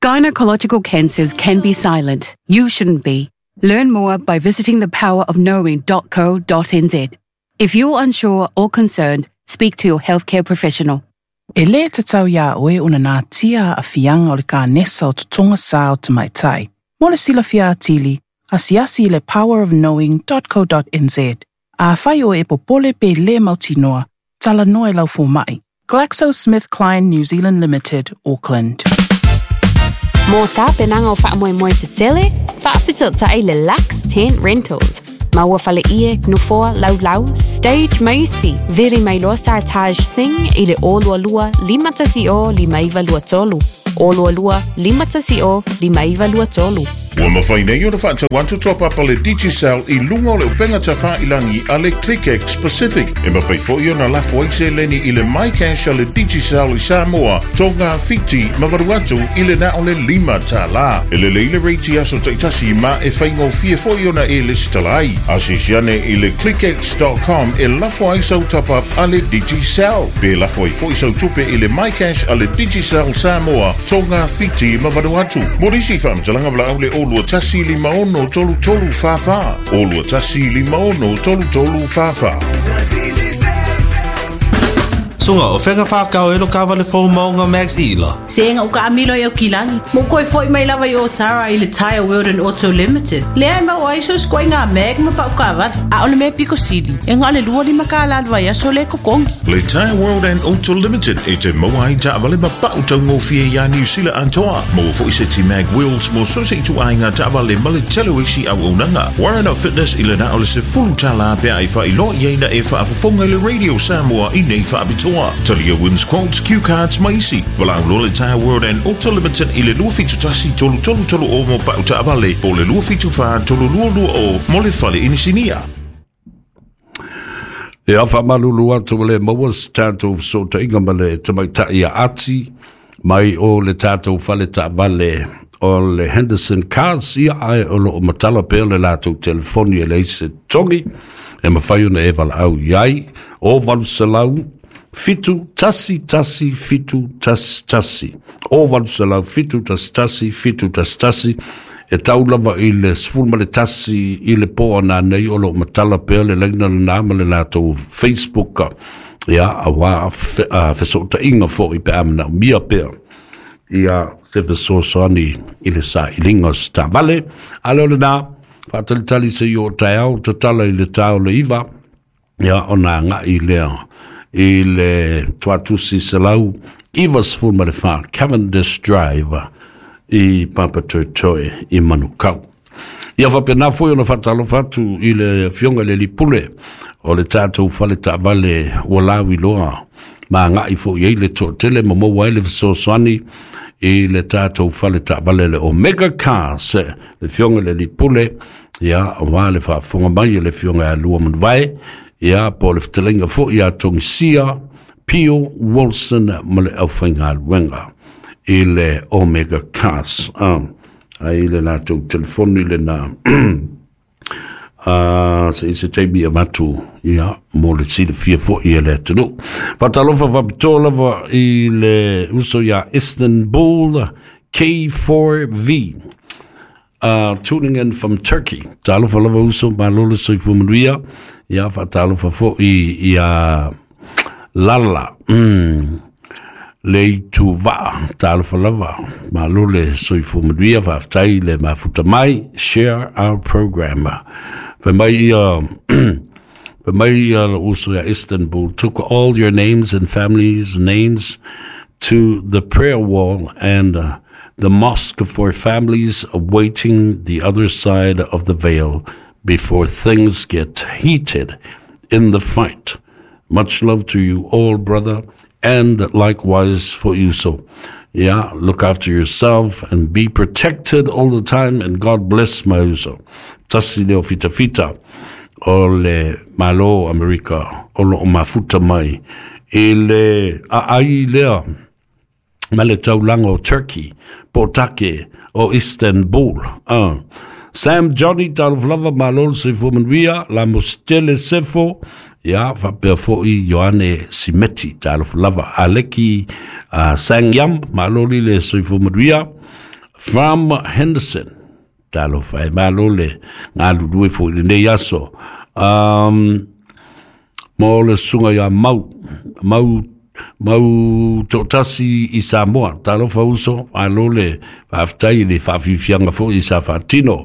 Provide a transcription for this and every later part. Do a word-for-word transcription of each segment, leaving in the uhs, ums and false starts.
Gynecological cancers can be silent. You shouldn't be. Learn more by visiting the power of knowing dot co dot n z. If you're unsure or concerned, speak to your healthcare professional. E lē tatau iā oe ona natia aafiaga o le kanesa o totoga sā o tamaitai. Mo le silafia atili, asiasi i le powerofknowing dot co dot N Z. Afai oe e popole pe lē mautinoa, talanoa i lau fomaʻi. GlaxoSmithKline New Zealand Limited, Auckland. Mo tapenaga o faamoemoe tetele, faafesootai le Lux Tent Rentals. Maua faleie, nofoa, laulau, stage ma isi. Vili mai loa Sartaj Singh i le zero lua lua lima tasi zero lima iva lua tolu. zero lua lua lima tasi zero lima iva lua tolu. Ua mafai nei ona faatau atu top-up a le Digicel i luga o le upega tafailagi a le ClickX Pacific. E mafai foi ona lafo ai seleni i le MyCash a le Digicel i Samoa, Tonga, Fiti ma Vanuatu i le na o le lima tālā. E lelei le rate i aso taitasi ma e faigofie foi ona e lesitala ai. Asiasi ane i le clickx dot com e lafo ai sau top-up a le Digicel. Pe lafo ai foi sau tupe i le MyCash a le Digicel Samoa, Tonga, Fiti ma Vanuatu. Mo nisi faamatalaga valaau le o lua tasi lima ono tolu tolu wha wha. O lua tasi lima ono tolu tolu wha wha. Sunga o whenga whakao e lo kawa le fō maunga Max Ila. Sega o ka amilo i au kilagi. Mo koe foi mai lava i o tara i le Tire World and Auto Limited. Lea e mau ai so skoe ngā mag ma pau kawara. A o le mea piko sili. E ngā le lua lima ka la vai aso le kokongi. Le Tire World and Auto Limited e te maua ai taavale ma pau taugofie iā Niu Sila atoa. Maua foi seti mag wheels mo so se itu ai ngā taavale ma le tele o isi auaunaga. Warren Fitness i le na o le sefulu tālā pea e whailoa i aina e whaafofonga i le Radio Samoa i nei whaapitoa. Talia wins quotes, cue cards ma isi. Valaau loa le Tire World and Auto Limited i le lua fitu tasi tolu tolu tolu o mo pau taavale po le lua fitu wha tolu lua lua o mo le fale inisinia. Ia faamalulu atu ua le maua se tatou fesootaiga ma le tamaitai ia Ati mai o le tatou fale taavale o le Henderson Cars, ia ae o loo matala pea le latou telefoni e leai se togi e mafai ona e valaau i ai o valu selau fitu tasi tasi fitu tasi tasi o valu selau fitu tasi tasi fitu tasi tasi e tau lava i le sefulu ma le tasi i le po ana nei o loo matala pea le laina lenā ma le latou Facebook, ia auā fesootaiga foʻi pe a manaomia pea ia se fesoasoani i le sailiga o se taavale. A le o lenā faatalitali se i o taeao tatala i le tā o le iva, ia ona agaʻi lea i le tuatusi selau iva sefulu ma le wha Cavendish Drive i Papatoetoe i Manukau. Ia faapena foi ona faatalofa atu i le afioga i le Lipule o le tatou fale taavale ua lauiloa ma agaʻi foʻi ai le toatele ma maua ai le fesoasoani i le tatou fale taavale le Omega Cars, le afioga i le Lipule, ia auā le faafofoga mai e le afioga ia Lua Manuvae, ia po o le fetalaiga foʻi ia Togisia Pio Wilson ma le aufaigaluega i le Omega Cars. Ah, ai le latou telefoni lenā uh, se i se taimi avatu ia mo le silafia foʻi e le atunuu. Faatalofa faapitoa lava i le uso ia Istanbul K four V uh, tuning in from Turkey. Talofa lava uso, malo le soifua manuia. Ia faatalofa foʻi ia Lala mm. le ituvaa, talofa lava, malo le soifua manuia, faafetai le mafuta mai. Share our program. Fai mai ia fai mai ia uso ia Istanbul, took all your names and families' names to the prayer wall and uh, the mosque for families awaiting the other side of the veil before things get heated in the fight. Much love to you all, brother, and likewise for you. So, yeah, look after yourself and be protected all the time, and God bless my uso. Tasi leo fita fita o le Malo Amerika o lo o mafuta mai i le aai lea ma le taulaga o Turkey po take o Istanbul. Uh. Sam Johnny, talofa lava, malo le soifua manuia, la mositele sefo, ia faapea foʻi Ioane Simeti, talofa lava. Aleki uh, Sangyam, malo li le soifua manuia. From Henderson. Talofa e malo le galulue foʻi lenei aso. Um, mo le susuga ia Mau, Mau Mau toʻatasi i Samoa. Talofa uso, malo le faafetai i le faafiafiaga foʻi sa faatino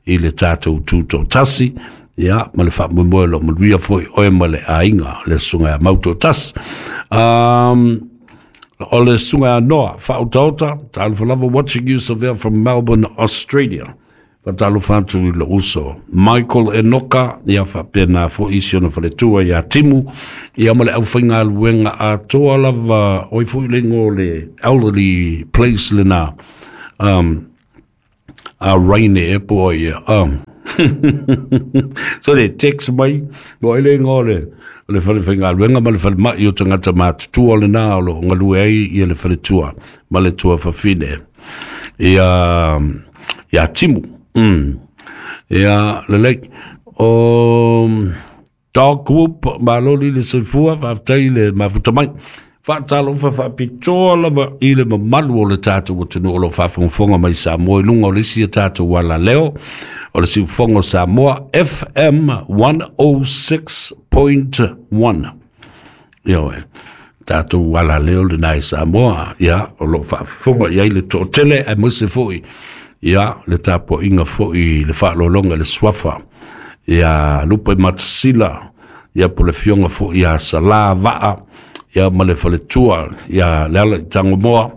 i le tatou tutoʻatasi, ia ma le faamoemoe o loo manuia foʻi oe ma le aiga le susuga ia Mau toʻatasi. Um, o le susuga ia Noa Faautaota, talofa lava, watching you Savea from Melbourne, Australia. Faatalofa atu i lou uso Michael Enoka, ia faapena foʻi si ona faletua ia Timu, ia ma le aufaigaluega atoa lava oi foʻi lego o le elderly place lena, um, a Raine e po ia. Um, so le text mai mo ele ngo le le fale faigaluega ma le falemaʻi o tagata matutua lena o loo galue ai ia le faletua ma le tua fafine ia ia Timu. Mm. Ia lelei o Dog Whoop, maloli le soifua, faafetai le mafuta mai. Faatalofa faapitoa lava i le mamalu o le tatou atunuu o loo faafogafoga mai Samoa i luga o le isi a tatou alaleo o le siufogo Samoa F M one oh six point one. Ia oe tatou alaleo lenā i Samoa, ia o loo faafofoga i ai le toʻatele aemaise foʻi ia le tapuaʻiga foʻi le faalologa le suafa ia Lupe Matasila, ia po le fioga foʻi ia Salā Vaa, ia ma le faletua ia le ala i Tagomoa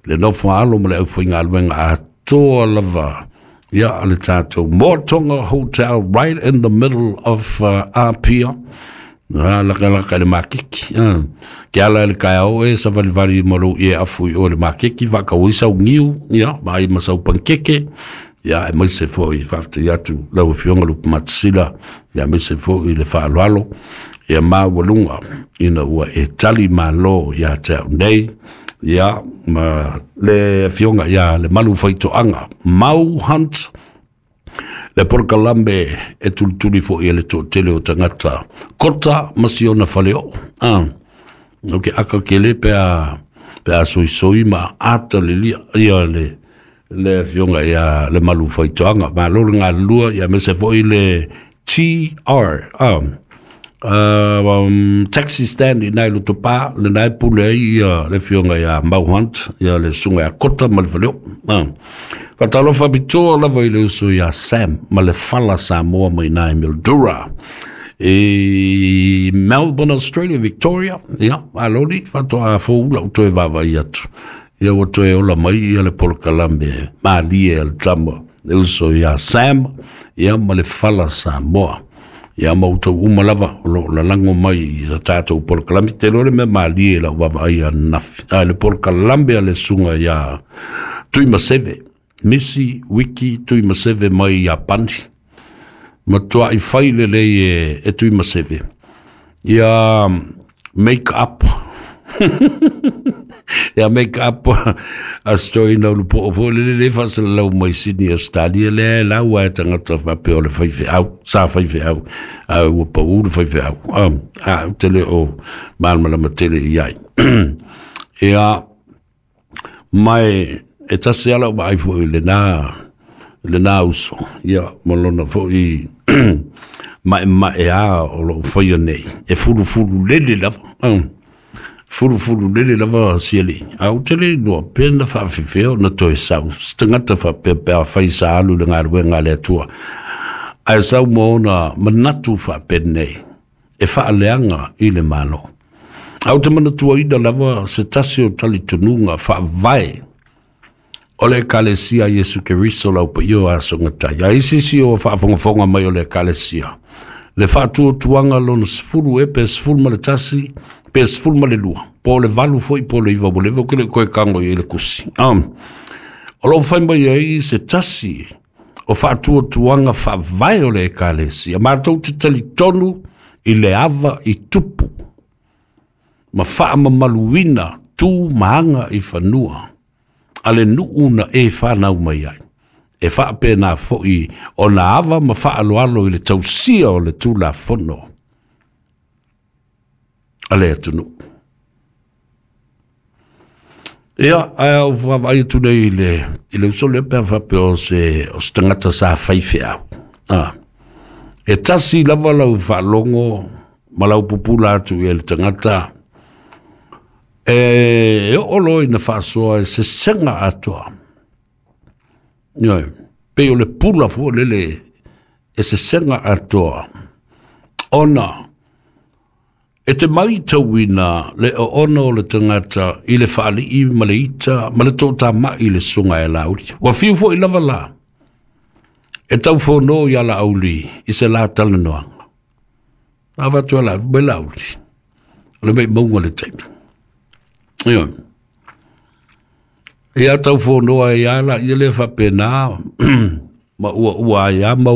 le nofo alo ma le aufaigaluega atoa lava ia le tatou Motonga Hotel right in the middle of uh, Apia. Ah, laka laka le makiki. Ah, ke ala le kaea o e savalivali ma lou ie afu i o le makiki faakauisa ugiu, ia ma ai ma sau pankeke, ia aemaise foʻi faafetai atu lau afioga Lupe Matasila, ia aemaise foʻi le faaaloalo ia maualuga ina ua e tali malo ia te au nei, ia ma le afioga ia le malu faitoaga Mau Hunt le polokalame e tulituli foʻi e le toʻatele o tagata kota ma siona faleoo. Ah, o ke aka kele pea pea soisoi ma ata le lia ia le le afioga ia le malu faitoaga malo le galulua ia mese foʻi le T R um, Uh, um, taxi stand i nai Lotopā le nai pule ai ia le afioga ia Mau Hunt ia le susuga ia Kota ma le faleo. Ah. Faatalofa pitoa lava i le uso ia Sam ma le fala Samoa mai nai Mildura i Melbourne, Australia, Victoria. Ia, aloli, faatoa foula u toe vaavaai atu. Ia ua toe ola mai ia le polokalame malie a le tama le uso ia Sam ia ma le fala Samoa. Ia ma outou uma lava o loo lalago mai i tatou polokalame. Te iloa le mea malie lau vaavaai ananafi a le polokalame a le susuga ia Tuimaseve, Misi Wiki Tuimaseve mai Iapani. Matuaʻi fai lelei e, e Tuimaseve ia make up ia make up a stoina ulupoo foʻi le lelei faasalalau mai Sydney Australia lea e lau ae tagata faapea o le faifeau sa faifeau a ua paʻu le faifeau a ou te le o malamalama tele i ai. Ia mai e tasi ala o vaai foʻi lenā lenā uso ia ma lona foʻi maʻemaʻe a o loo faia nei e fulufulu lele lava. Fulufulu lele lava siali a ou te le iloa pe na faafefea ona toe sau se tagata faapea pe afai sa alu le galuega a le Atua ae sau ma ona manatu faapenei e faaleaga i le malo. A ou te manatuaina lava se tasi o talitonuga faavae o le Ekalesia Iesu Keriso lau paia o asogatai. A isi isi o faafogafoga mai o le Ekalesia le faatuatuaga lona sefulu e pe sefulu ma le tasi pe sefulu ma le lua po o le valu foʻi po o le iva ua leva ou ke leʻi koe kago i ai le kusi. Um, o loo fai mai ai se tasi o faatuatuaga faavae o le Ekalesia matou te talitonu i le ava i tupu ma faamamaluina tu ma aga i fanua a le nuu na e fanau mai ai e faapena foʻi ona ava ma faaloalo i le tausia o le Tulafono a le atunuu. Ia, ae au vaavaai atu nei i le, i le uso lea pe a faapea o se, o se tagata sa fai feau. Ah. E tasi lava lau faalogo ma lau pupula atu i le tagata e, e oo loa ina faasoa e sesega atoa. Ioe, pei o le pula foi lele e sesega atoa. Ona, e te matauina le oona o le tagata i le faalii ma le ita ma le toatamai i le susuga ia Laauli. Ua fiu foi lava la e taufono ia Laauli i se la talanoaga. Avatu e Laauli, mai Laauli, o le maimauga le taimi. Ioe. Ia taufonoa ai lava laia lea faapena ma uaua ai lava ma